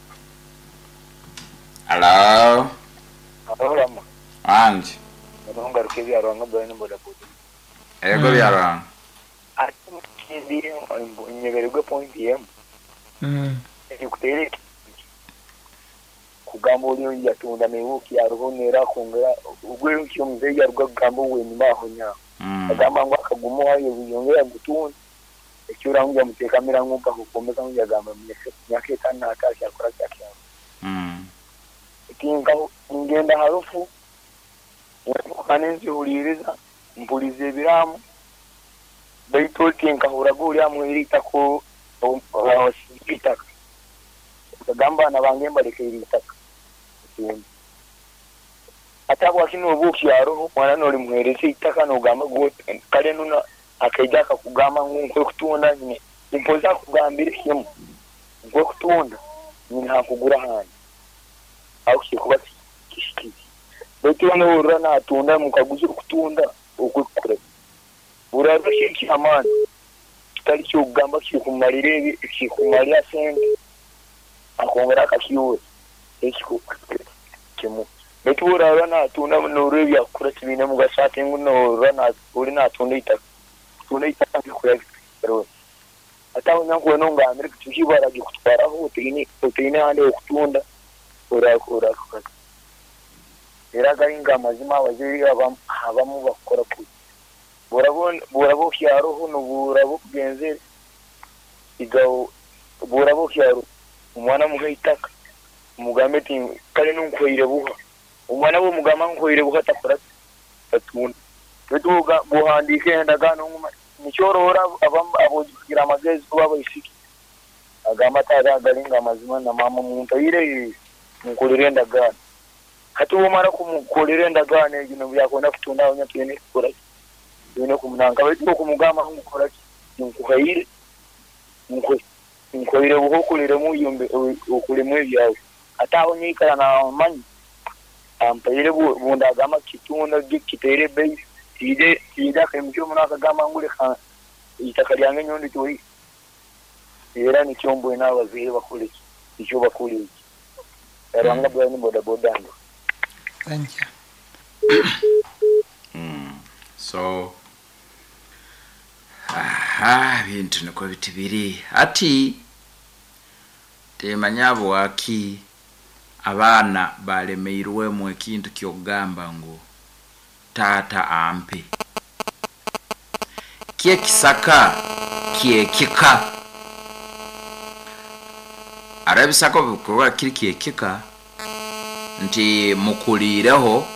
B: Hello.
F: Alama.
B: Anji.
F: Nongaruka ebyarwanga bwene boda boda.
B: Ego byarwanga.
F: Ati kindi nyebererwe point yemu.
A: Mm.
F: Ekutere kugamba oli yatunda mebuki yaruhonera kongera ugwe kyo mzee yaruga kugamba wenyuma aho nya. Agamba ngo akagumo ayo yongera gutunda. Ekyo rangu yamutekamira nkuka kukomeza ngu yagamba myaka etano atashya akora cyakya.
B: Mm.
F: Tinka ngenda harufu kanenzi huliriza mpulize ebiramu baitu tinka huraguri amwirita ko itaka kagamba nabange mbaleke itaka atabwa kino obuki yaroho mwana noli muhereze itaka nogamba kale nuna akaija akakugamba ngu nkwe kutunda nyine impoza kugambira kimu nkwe kutunda nyine hakugura handi aho kikuba kishikiki baitu wano natunda mukaguzi kutunda okukure burarushe kyamani kitali cyo kugamba kikumalire ebi kikumalira sente akongera akakiwe ekiko kimu baitu burarwa natunda norwe byakura kibine mugasate ngu norwa na uri natunda itaka tunda itaka bikura rero ataho nyanko nongambire kutukibara gikutwaraho utine utine hande okutunda urakura era garinga amazima abaziri abamu bakora ku burabona burabo kyaroho no burabo kugenzere igawo burabo kyaro umwana muhe itaka umugambe ti kale nunkoire buha umwana bo mugamba nkoire buha takora tatunda betuga buhandike endagano nguma nicyorora abogira amagezi kuba bayisiki agamba tara garinga amazima na mama muntu ayire mukolere endagano hati umara kumukolere endagano egino byakona kutunda abanyatwene kukora yone kumunanga baitu kumugamba ngukora nkuhaire nko nkoire buhokulire mu yombe okulemu ebyawe ataho nyikara na manyi ampaire bundagama kitunda gikitere bei ide ida kemcho munaka gamba ngule itaka lyange nyondi toyi era nikyombo n'abazire bakole icyo bakole iki eranga bwani boda boda ndo.
A: Thank you.
B: Mm. So aha bintu niko bitibiri ati temanya bwaki abaana balemeirwemu ekintu kyogamba ngu taata ampe kye kisaka kye kika arabisako bikuba kiri kye kika nti mukulireho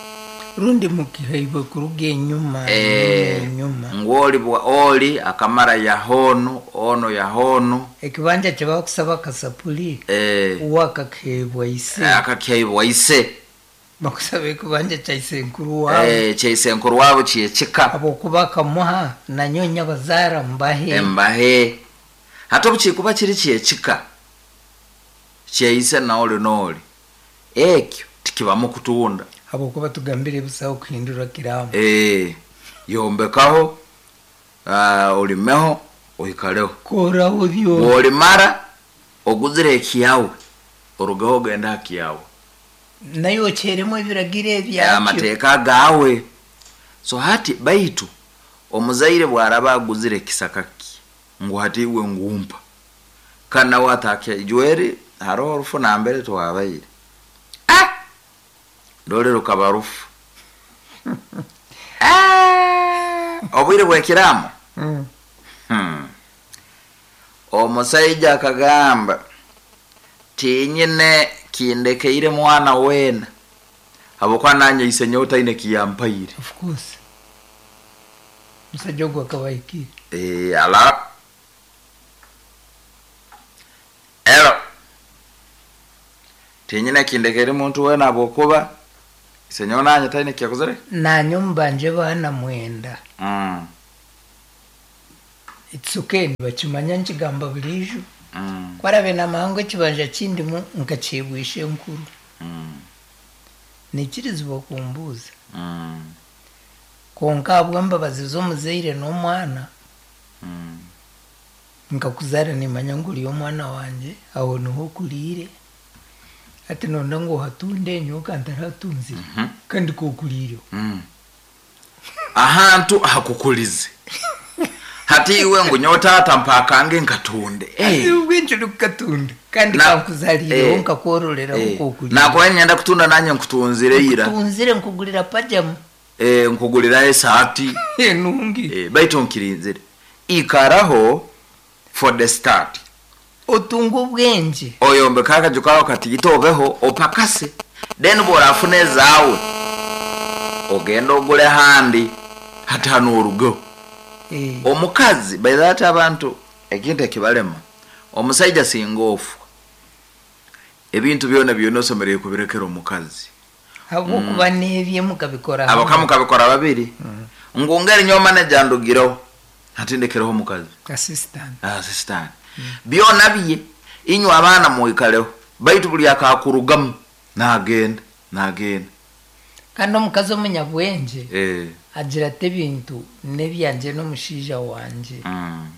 A: rundi mukihaiwe kuruga enyuma
B: e,
A: enyuma
B: ngoli bwa oli akamara ya hono ono ya hono
A: ekibanja kyebakusaba kasapuli
B: e,
A: uwakakebwa ise
B: akakebwa ise
A: bakusaba ekibanja kya isenkuru wabo
B: e, kya isenkuru wabo kyekika
A: abokuba kamuha nanyonya bazara mbahe
B: mbahe hata bukikuba kiri kyekika kyeise naoli noli ekyo tikibamu kutunda
A: abokuba tugambire busaho kuhindura kiramu
B: eh yombekaho uh, olimeho oikaleho
A: kora udyo
B: olimara oguzire ekiyawe orugaho genda akiyawe
A: nayo ocheremo ebiragiro ebyakyo
B: amateeka gawe. So hati baitu omuzaire bwaraba aguzire kisakaki ngu hati iwe ngumpa kana watake jweri haro orufu nambere twabaire ah ndole rukabarufu ah obwire bwekiramo
A: mm.
B: hmm. Omusaija akagamba tinyine kindekeire mwana wena habwokuba nanye isenye otaine kiyampaire.
A: Of course musajja ogwo akabahikire
B: eh ala ero tinyine kindekeire muntu wena habwokuba Isenyowe nanye taine kiyakozere?
A: Nanye omubanje baana mwenda.
B: Mm.
A: It's okay, nibakimanya nkigamba buriijo.
B: Mm.
A: Kwarabe namahango ekibanja kindimu nkakyebwisha enkuru.
B: Mm.
A: Nikirizibwa kumbuuza.
B: Mm.
A: Konka ahabw'embabazi z'omuzaire n'omwana,
B: Mm.
A: nkakuzaara nimanya ngu ori omwana wangye, aho niho okuriire. Hati nonda ngu ohatunde nyowe kantarahatunzire kandi kokuriireho.
B: Mm. Ahantu ahakukulize. Hati iwe ngu nyowe taata mpakange nkatunde.
A: Hati
B: Eh.
A: ubwingi orikukatunda kandi
B: Na-
A: kankuzariireho
B: eh,
A: nkakwororeraho
B: Eh,
A: kokuriire.
B: nakuba nyenda kutunda nanye nkutunzire ira.
A: Nkutunzire nkugurira pajamu.
B: Eh, nkugurira esaati.
A: Enungi.
B: Eh, baitu nkirinzire. Ikaraho for the start.
A: Otunga obwengye.
B: Oyombeka akaju kawe kati obeho opakase. Then bworafuna ezaawe ogenda ogule handi hati hano orugeho.
A: Eh.
B: Omukazi by that abantu ekintu ekibalema omusaija singa ofa ebintu byona byona osomereye kubirekera omukazi.
A: Habwokuba n'ebye mukabikora
B: Abo
A: hamwe.
B: kamukabikora babiri. Ngu ngeri nyowe manager ndugireho hati ndekereho omukazi.
A: Assistant.
B: Assistant. Byona bye inywe abaana mwikaleho baitu buli akakurugamu nagenda nagenda.
A: Kandi omukazi omunyabwengye
B: Eh.
A: agira ati ebintu n'ebyangye n'omushaija wangye.
B: Mm.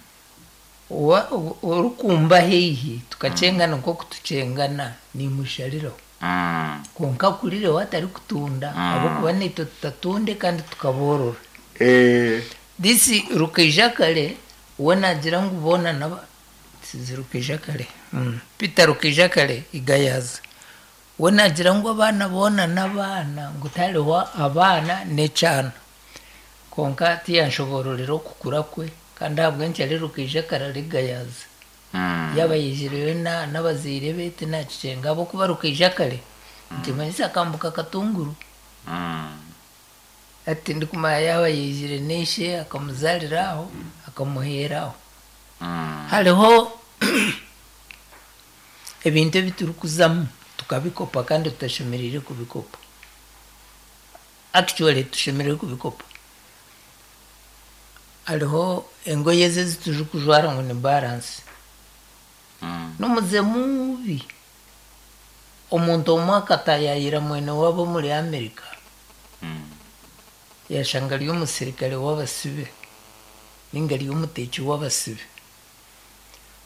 A: Owa- o- orikumba haihi tukakyengana nk'oku tukyengana nimushariraho.
B: Mm.
A: Konka akurireho atarikutunda
B: Mm.
A: ahabw'okuba naitwe tutatunde kandi tukaboorora.
B: Eh.
A: This Rukaija kare we nagira ngu boona naba sizi Rukaija kare. Mm. Peter Rukaija kare igayaza. We nagira ngu abaana boona n'abaana ngu tihariho abaana n'ekyana. Konka tiyanshobororera okukura kwe kandi ahabw'enki ari Rukaija kare ari Gayaza.
B: Mm.
A: Yaaba yaijireyo na- n'abazaire be tinakikyenga ahabw'okuba Rukaija kare nkimanyisa akambuka Katunguru.
B: Mm.
A: Hati ndikumanya yaaba yaijire n'ishe akamuzarira aho akamuheera aho.
B: Mm.
A: Hariho ebintu ebi turikuzamu tukabikopa kandi tutashemereire kubikopa. Actually tushemereire kubikopa. Hariho engoye ezi eziturikujwara ngu ni balance.
B: Mm.
A: N'omuze mubi. Omuntu omwe akatayayira mwene waabo omuri America.
B: Mm.
A: Yashanga ari omusirikare w'abasibe ninga ari omuteeki w'abasibe.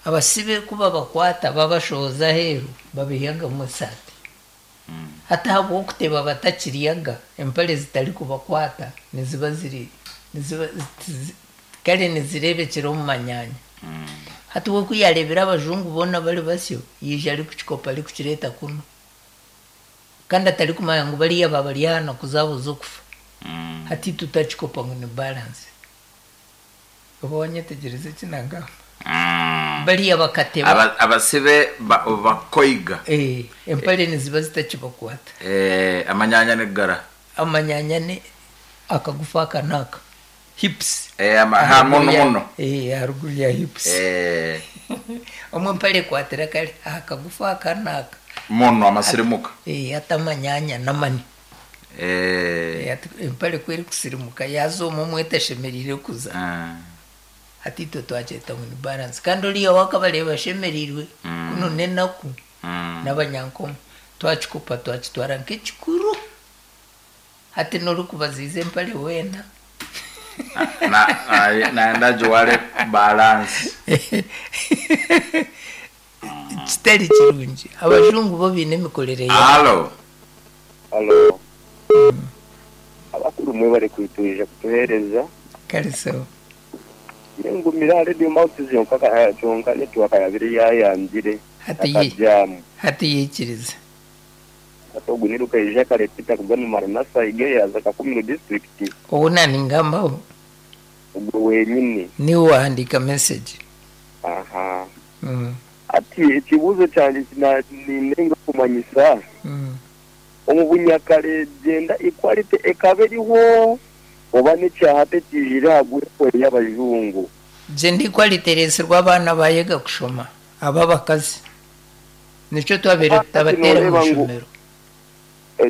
A: Abasibe ku babakwata babashohoza aheeru babihagamu esaati.
B: Mm.
A: Hati ahabw'okuteba batakiryaga empare zitarikubakwata niziba ziri niziba zi- kare nizireebekyera omu manyanya.
B: Mm.
A: Hati we ku yareebire abajungu boona bari basyo yaija arikukikopa arikukireeta kunu. Kandi atarikumanya ngu bariya babari aha naku zaabo z'okufa.
B: Mm.
A: Hati tutakikopa ngu ni balance. Oba wanyetegyereza eki nagamba?
B: Mm.
A: Bariya bakateba.
B: Aba- abasibe ba- bakoiga.
A: Eh, empare niziba zitakibakwata.
B: Eh, amanyanya negara.
A: Amanyanya ni akagufa aka n'aka. Hips.
B: Eh, ama, ha muno muno.
A: Eh, haruguru ya hips.
B: Eh,
A: Omwe empare ekwatira kare aha kagufa aka n'aka.
B: muno amasirimuka.
A: Eh, ati amanyanya n'amani.
B: Eh.
A: Eh, ati empare ku erikusirimuka yaza omwe omwe etashemereire kuza.
B: Ah.
A: Hati itwe twakyeta ngu ni balance. Kandi oriya wakabareeba ashemereirwe
B: Mm.
A: kuno n'enaku
B: Mm.
A: n'abanyankomo twakikopa twakitwara nk'ekikuru. Hati n'orikubaziiza empare weena.
B: Na na naenda juwale balance.
A: Kitari kirungi. Abajungu bo baine emikorere yaabo.
B: Halo.
D: Halo. Abakuru mwe bari kwitwija kutuhereza.
A: Kare so.
D: Nengumira radio mouth zonka ka zonka network yabiri yayangire.
A: Hati ye
D: Akajamu.
A: hati yikiriza.
D: Atogu niruka ija kare Peter kugana Maranatha igeyaza Kakumiro district.
A: Obu naningambaho
D: Ubwo wenyine.
A: niwe wahandiika message.
D: Aha.
A: Mm.
D: Ati ekibuzo kyanje kina ninenga kumanyisa.
A: Mm.
D: Omu bunyakare genda equality ekaba eriho oba n'ekyaha tekijire ahagwe y'abajungu.
A: Gender equality ereetsirwe abaana bayega kushoma aba abakazi. Nikyo twabeire tutabateera mu
D: Noreeba ngu
A: ishomero.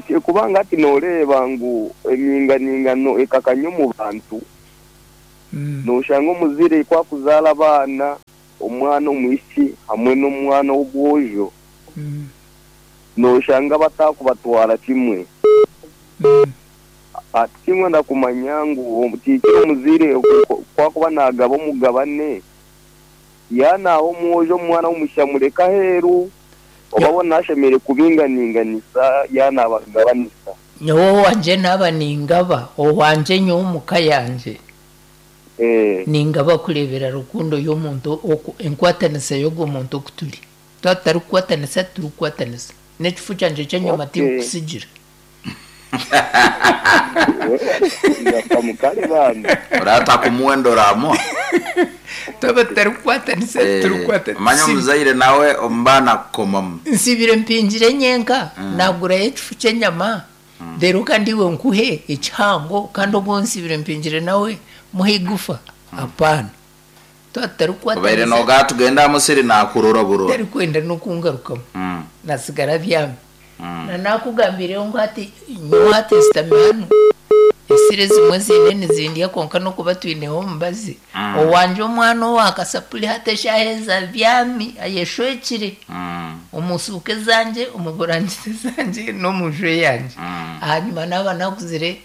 D: Kubanga ati nooreba ngu eminganingano ekakanya omu bantu, noshanga omuzire kwakuzaala abaana, omwana omwishiki hamwe n'omwana w'obwojo, noshanga batakubatwara kimwe. Ati kimwe ndakumanya ngu tikiri omuzire kwakuba nagaba omugabane, yanaaho omwojo omwana w'omusha mureka aheeru, oba bona ashemere kubinganinganisa yanabagabanisa.
A: Nyowe wanje naba ningaba owanje nyowe omuka yanje
D: eh
A: ningaba kurebera rukundo y'omuntu enkwatanisa y'ogwo muntu okuturi twatari kukwatanisa turi kukwatanisa n'ekifu kyanje ky'enyama tikusigira.
B: Urata kumuwendo ramo
A: twaba tutari kukwatanisa turi kukwatanisa.
B: Manya omuzaire nawe ombana kukomamu
A: nsibire mpingire nyenka nagurayo ekifu ky'enyama rero kandi iwe nkuhe ekihango kandi obwo nsibire mpingire nawe muhe igufa. Apana, twatari kukwatanisa.
B: Obaire noga tugenda musiri nakurora burora
A: tari kwenda n'okungarukamu nasigara byami. Na nakugambireho ngu ati nyowe ati sitami hanu esire zimwe ziine nizindya konka n'okuba twineho omubazi owanje omwana owakasapuli hati eshaheza byami ayeshwekire omusuuke zangye omuburangiti zangye n'omunju yangye. Ahanyuma naaba nakuzire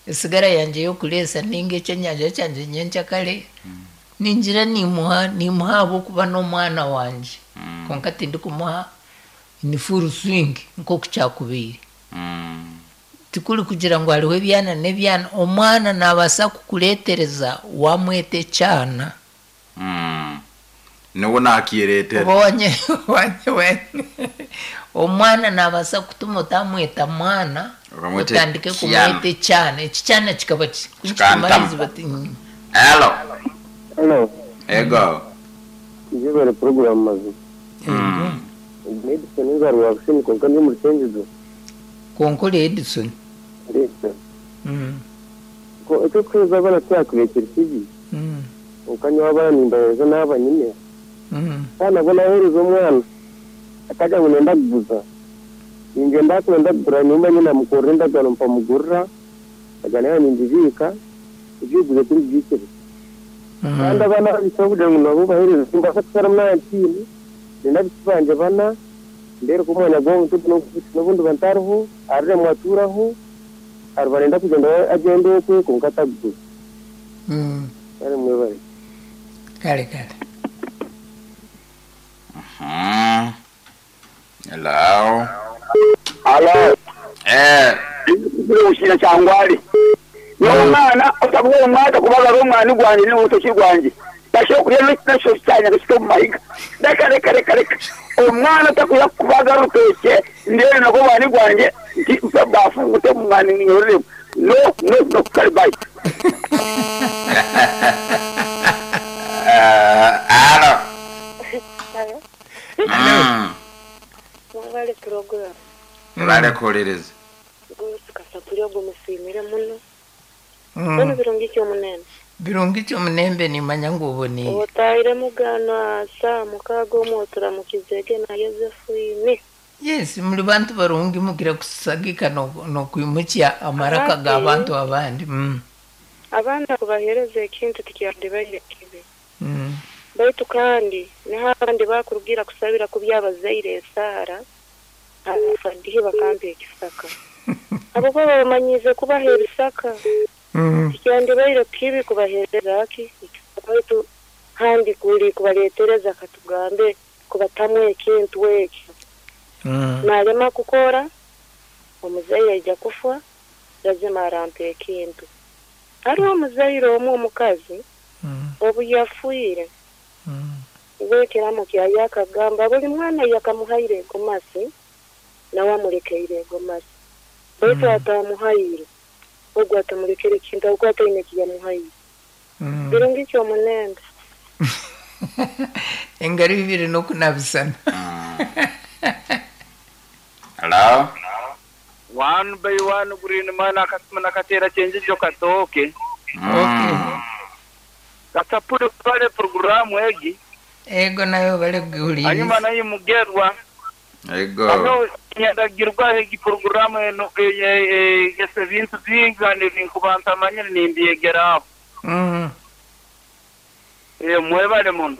A: esigara yangye y'okureesa ninga ekyenyanja kyangye nyenkyakare ningira nimuha nimuha ahabw'okuba n'omwana wangye konka tindikumuha ni full swing nk'oku kyakubaire. Tikuri kugira ngu hariho ebyana n'ebyana, omwana nabaasa kukureetereza wamweta ekyana.
B: Niwe nakireetera.
A: Omwana nabaasa kutuma otamweta mwana, otandike kumweta ekyana. Ekikyana kikaba kikumariza bati.
B: Hello.
E: Hello.
B: Ego.
E: Njebere program mazi. Edison nzarwa kushini konka ndi muri Chenjizo.
A: Konkole Edison.
E: Edison.
A: Mm.
E: Ko ecyo kweza bana cyakubekera kibi.
A: Mm.
E: Okanya abana nimbaza naba nyine.
A: Mm.
E: Kana bona herezo omwana. Akaja ngo nenda kuguza. Ninje ndakwenda kugura nyuma nyina mukorera ndagano mpamugurira. Agana nindibika ibyuguze kuri byikire. Kandi abana bisaba kugira ngo nabo bahereze simbasa kusara mwana. Nenda banje bana ndero kumwana gwo n'ubundi bantariho arire mwaturaho arbarenda kugenda agende okwe kunkataguza.
A: Mm.
E: Ari mwebare.
A: Kale kale.
B: Mhm. Hello.
C: Hello.
B: Eh.
C: Ushira cyangwari. N'umwana utabuwe umwaka kubaga umwana gwanje n'urutoki rwanje. Basho kuriya n'icyo cyanya gishito mu mahiga. Reka reka reka reka. Umwana atakuya kubaga rutoke ndere nako bani gwanje bafungute mu mwana nyorere. No no no karibai.
B: Eh, alo.
I: Alo.
B: Mm.
I: Mwale program.
B: Mwale kuhuliriza.
I: Gusa kasapuri ogo musimire muno. Mm. Birungi cyo munene.
A: Birungi cyo munembe nimanya ngo uboneye.
I: Otahire mugano asa mukago motura mukizege na Yosefu ini.
A: Yes, muri bantu barungi mugira kusagika no no kwimukya amaraka ga bantu abandi. Mm.
I: Abana kubahereza ekintu tikyandi kibi.
A: Mm.
I: Baitu kandi n'abandi bakurugira kusabira kubyabazaire esara abafadihe bakambe ekisaka. Abo baba bamanyize kubaha ebisaka.
A: Mm.
I: Tikyandi baire kibi kubahereza ki baitu handi kuli kubaletereza katugambe kubatamwe ekintu ekyo.
A: Mm.
I: Nalema kukora omuzaire aija kufa lazima arampe ekintu. Hariho omuzaire omwe omukazi
A: mm.
I: obu yafuire
A: mm.
I: wekeramu kyayakagamba buli mwana yakamuhaire egomasi nawe amulekeire egomasi baitu
A: mm.
I: atamuhaire ogwo atamulekere ekintu ogwo ataine ekiyamuhaire.
A: Mm.
I: Birungi kyomunenda.
A: Engaro ibiri n'okunabisana.
B: Hello.
F: One by one green man akasema nakatera chenjijo katoke.
A: Okay.
F: Kasapuri pale programu egi.
A: Ego nayo bale guhuliriza.
F: Hanyuma nayo mugerwa.
B: Ego.
J: Ano nyandagirwa egi porogaramu eno egesa ebintu bingi kandi ebinkuba ntamanyire nimbyegeraho.
A: Mm.
J: Eh, mwebale muno.